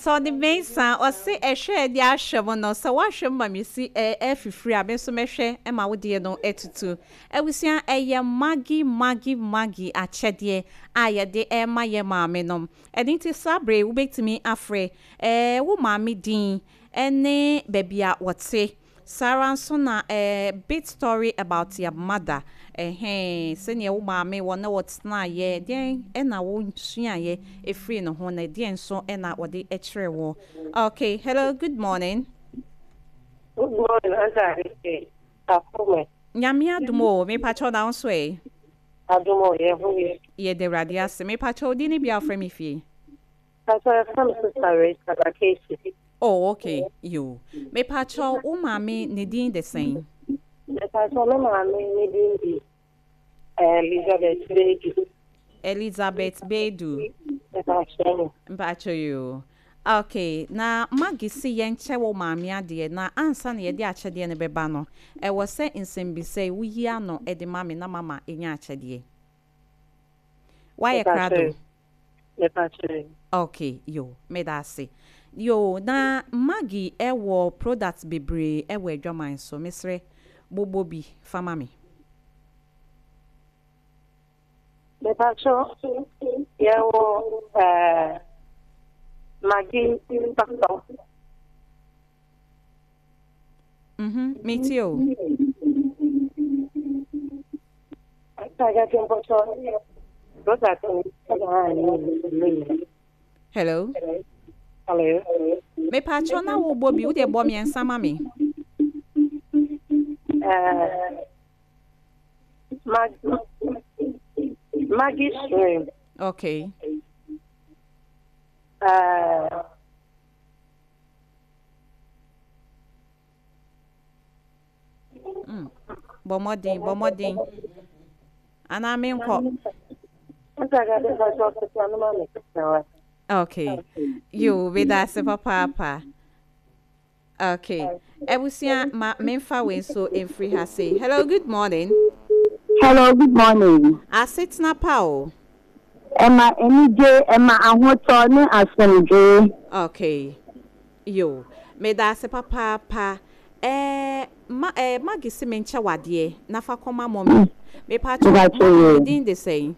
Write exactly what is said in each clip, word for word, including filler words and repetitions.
Tony Mensah ɔse ɛhwɛ de ahwɛ mo no sɛ woahwɛ m ma mesi ɛfifiri a me nso mɛhwɛ ma wodeɛ no atutu. Abusua, ɛyɛ Maggi Maggi Maggi akyɛdeɛ a yɛde ɛma yɛ maame nom. Ɛno nti saa bere wobɛtumi afrɛ ɛɛ wo maame din ɛne baabi a wɔte. Saa ara nso na ɛɛ bit story about your mother, ɛhɛn, sɛnea wo maame wɔ ne wɔtenaeɛ, deɛn ɛna wosuaeɛ ɛfiri ne ho, na deɛn nso ɛna wɔde ɛkyerɛ wɔ. Okay, hello, good morning. Good morning, Auntie. Akome. Nyame adom o, mepakyɛw, na wo nso ɛ? Adom o, yɛ ho yɛ. Yɛde Awurade ase. Mepakyɛw, wo din ne bia wofrɛ me fie? Pastor, yɛfrɛ me Sister Rachel Akechi. Oh, okay, yo, mepakyɛw, wo maame ne din de sɛn? Pastor, me maame ne din di Elizabeth Bedu. Elizabeth Bedu. Pastor. Mpakyɛw yo, okay, na Maggi si yɛnkyɛ wo maame adeɛ, na ansa na yɛde akyɛdeɛ no bɛba no, ɛwɔ sɛ nsɛmbisa yi woyi ano de ma me na mama ɛnya akyɛdeɛ. Woayɛ krado? Pastor. Okay, yo, meda ase. Yo, na Maggi ɛwɔ product bebree ɛwɔ adwaman so. Mesrɛ, bobɔ bi fama me. Pastor, yɛwɔ eh, Maggi Pastor. Mhm, metie o. Pastor, product Hello. Hello. Mepakyɛw, na wobɔ bi, wode bɔ mmiɛnsa ma me. Uh, Maggi, Maggi shrimp. Okay. Uh, mm. bɔ mmɔden, bɔ mmɔden anaa menkɔ? Okay, yo, meda ase papaapa. Okay, abusua, ma memfa wei nso mfiri ha sei. Hello, good morning. Hello, good morning. Asetena pa o. Ɛma anigye, ɛma ahotɔ ne asomdwee. Okay, yo, meda ase papaapa. ɛɛ ma ɛɛ Maggi si me nkyɛ wadeɛ na fa kɔma mummy. Mepakyɛw, mummy ne din de sɛn?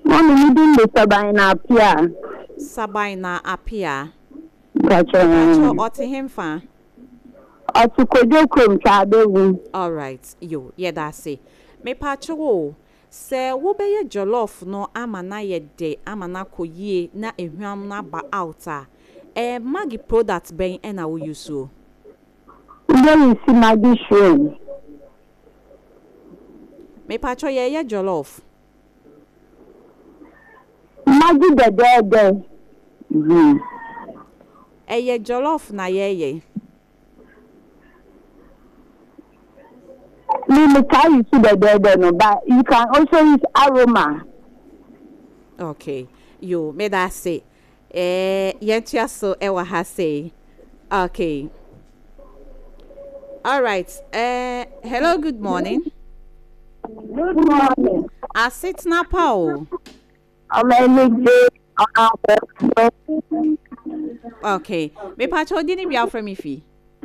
Mummy ne din de Saban na Apia. Saban na Apia. Mpakyɛw. Mepakyɛw, ɔte hemfa? Ɔte Kodwo kurom Twaadewu. Alright, yo, yɛda ase. Mepakyɛw o, sɛ wobɛyɛ jollof no ama na yɛ de ama na akɔ yie na ehwam no aba out a, ɛɛ Maggi product bɛn ɛna woyi so? Ndé si Maggi shrimp. Mepakyɛw, yɛyɛ jollof. Maggi dɛdɛɛdɛ. Mhm. Ɛyɛ jollof na yɛyɛ. Me me taa use dɛdɛɛdɛ no, but you can also use aroma. Okay, yo, meda ase. ɛɛ yɛntoa so ɛwɔ ha sei. Okay, alright, ɛɛ hello, good morning. Good morning. Asetena pa o. Ɔmɔ anigye ɔmo. Okay, mepakyɛw, di ne bia afrɛ me fi?